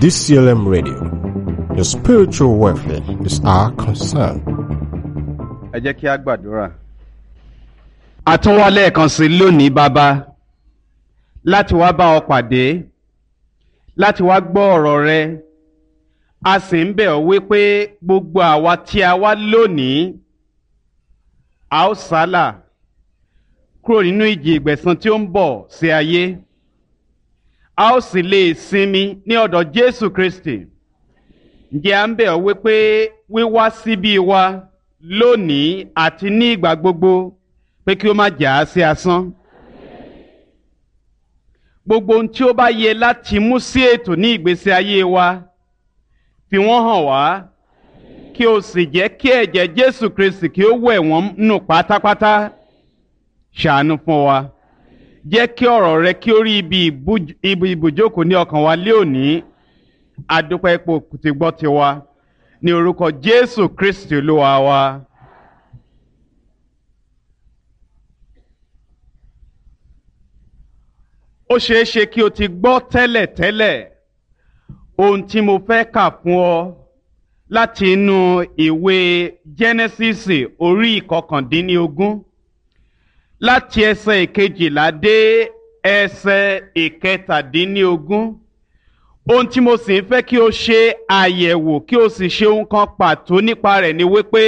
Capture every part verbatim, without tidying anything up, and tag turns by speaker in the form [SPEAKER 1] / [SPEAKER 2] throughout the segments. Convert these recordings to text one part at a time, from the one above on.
[SPEAKER 1] D C L M Radio. Your spiritual welfare is our concern.
[SPEAKER 2] Ẹ jẹ́ kí a gbàdúrà.
[SPEAKER 3] A tún wá lẹ́ẹ̀kan sí lónìí, Bàbá, láti wá bá ọ pàdé, láti wá gbọ́ ọ̀rọ̀ rẹ. A sì ń bẹ̀ ọ́ wípé gbogbo àwa tí a wá lónìí, a ó sálà kúrò nínú ìjì ìgbẹ̀san tí ó ń bọ̀ sí ayé, a ó sì lè sinmi ní ọ̀dọ̀ Jésù Kristi. Ǹjẹ́ à ń bẹ̀ ọ́ wípé wíwá síbí wa lónìí àti ní ìgbà gbogbo, pé kí ó má jà á sí asán. Gbogbo ohun tí ó bá yẹ láti mú sí ètò ní ìgbésí ayé wa, fi wọ́n hàn wá, kí o sì jẹ́ kí ẹ̀jẹ̀ Jésù Kristi kí ó wẹ̀ wọ́n nù pátápátá. Ṣàánú fún wa. Jẹ́ kí ọ̀rọ̀ rẹ kí ó rí ibi ibi ibùjókòó ní ọkàn wa lé òní. Adúpẹ́ ipò tí gbọ́ tiwa. Ní orúkọ Jésù Kristi Olúwa wa. Ó ṣeé ṣe kí o ti gbọ́ tẹ́lẹ̀tẹ́lẹ̀ ohun tí mo fẹ́ kà fún ọ láti inú ìwé Jẹ́nẹ́sísì orí ìkọkàndínlógún, láti ẹsẹ̀ ìkejìlá dé ẹsẹ̀ ìkẹtàdínlógún. Ohun tí mo sì ń fẹ́ kí o ṣe àyẹ̀wò, kí o sì ṣe ohun kan pàtó nípa rẹ̀ ni wípé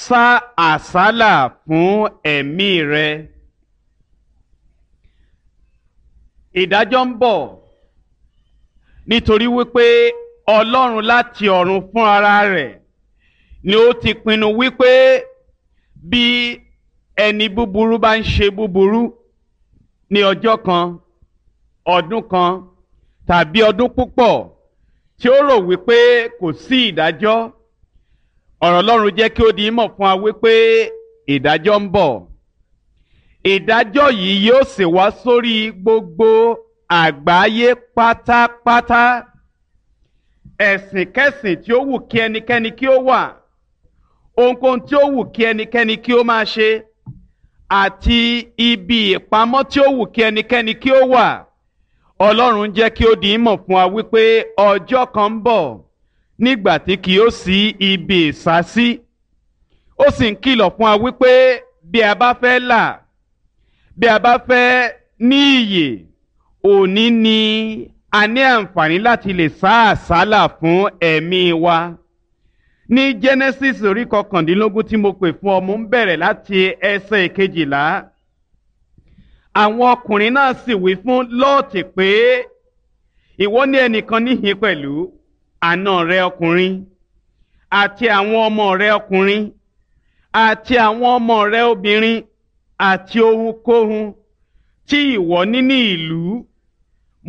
[SPEAKER 3] sá àsálà fún ẹ̀mí rẹ. Ìdájọ́ ń bọ̀, nítorí wípé Ọlọ́run láti ọ̀run fún ara rẹ̀ ni ó ti pinnu wípé bí ẹni búburú bá ń ṣe búburú ní ọjọ́ kan, ọdún kan tàbí ọdún púpọ̀, tí ó rò wípé kò sí ìdájọ́, ọ̀rọ̀ Ọlọ́run jẹ́ kí ó di mọ̀ fún wa wípé ìdájọ́ ń bọ̀. Ìdájọ́ yìí yóò sì wá sórí gbogbo àgbáyé pátápátá. Ẹ̀sìnkẹ́sìn tí ó wù kí ẹnikẹ́ni kí ó wà, ohunkóhun tí ó wù kí ẹnikẹ́ni kí ó máa ṣe, àti ibi ìpamọ́ tí ó wù kí ẹnikẹ́ni kí ó wà, Ọlọ́run jẹ́ kí ó di mọ̀ fún wa wípé ọjọ́ kan ń bọ̀ nígbà tí kì yóò sí ibi ìsásí. Ó sì ń kìlọ̀ fún wa wípé bí a bá fẹ́ là, bí a bá fẹ́ ní ìyè, òní ni a ní àǹfààní láti lè sá àsálà fún ẹ̀mí wa. Ní Genesis orí kọkàndínlógún tí mo pè fún ọ, mo ń bẹ̀rẹ̀ láti ẹsẹ̀ ìkejìlá. Àwọn ọkùnrin náà sì wí fún Lọ́ọ̀tì pé, ìwọ ní ẹnìkan níhìn pẹ̀lú, àna rẹ ọkùnrin, àti àwọn ọmọ rẹ ọkùnrin, àti àwọn ọmọ rẹ obìnrin, àti ohunkóhun tí ìwọ ní ní ìlú,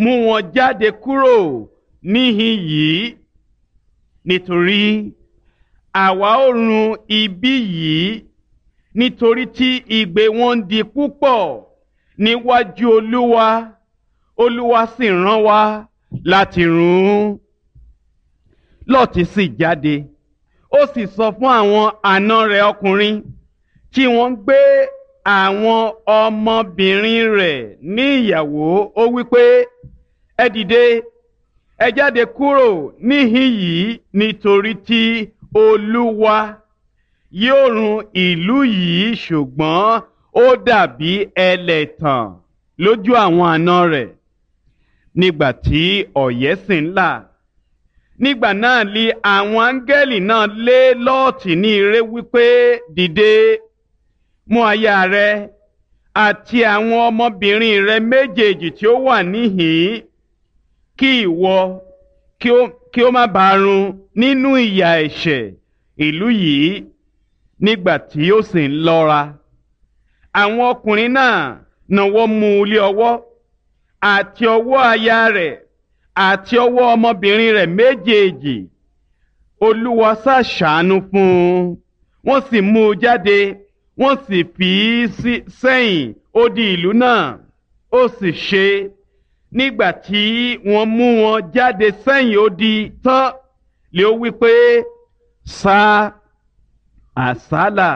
[SPEAKER 3] mú wọn jáde kúrò níhìn yìí, nítorí àwa ó run ibi yìí, nítorí tí igbe wọn ń di púpọ̀ níwájú Olúwa, Olúwa sì rán wa láti run ún. Lọ́ọ̀tì sì jáde, ó sì sọ fún àwọn àna rẹ̀ ọkùnrin tí wọ́n ń gbé àwọn ọmọbìnrin rẹ̀ ní ìyàwó. Ó wí pé, ẹ dìde, ẹ jáde kúrò níhìn yìí, nítorí tí Olúwa yóò run ìlú yìí. Ṣùgbọ́n ó dàbí ẹlẹ́tàn lójú àwọn àna rẹ̀. Nígbà tí ọ̀yẹ́ sì ń là, nígbà náà li àwọn áńgẹ́lì náà lé Lọ́ọ̀tì ní ire wípé, dìde, mú aya rẹ àti àwọn ọmọbìnrin rẹ méjèèjì tí ó wà níhìn-ín, kí ìwọ kí ó má bàa run nínú ìyà ẹ̀ṣẹ̀ ìlú yìí. Nígbà tí ó sì ń lọ́ra, àwọn ọkùnrin náà náwó mú un lé ọwọ́, àti ọwọ́ aya rẹ̀, àti ọwọ́ ọmọbìnrin rẹ̀ méjèèjì. Olúwa ṣàṣàánú fún un, wọ́n sì mú un jáde, wọ́n sì fi í sẹ́yìn odi ìlú náà. Ó sì ṣe, nígbà tí wọ́n mú wọn jáde sẹ́yìn odi tán, lé ó wí pé, sá àsálà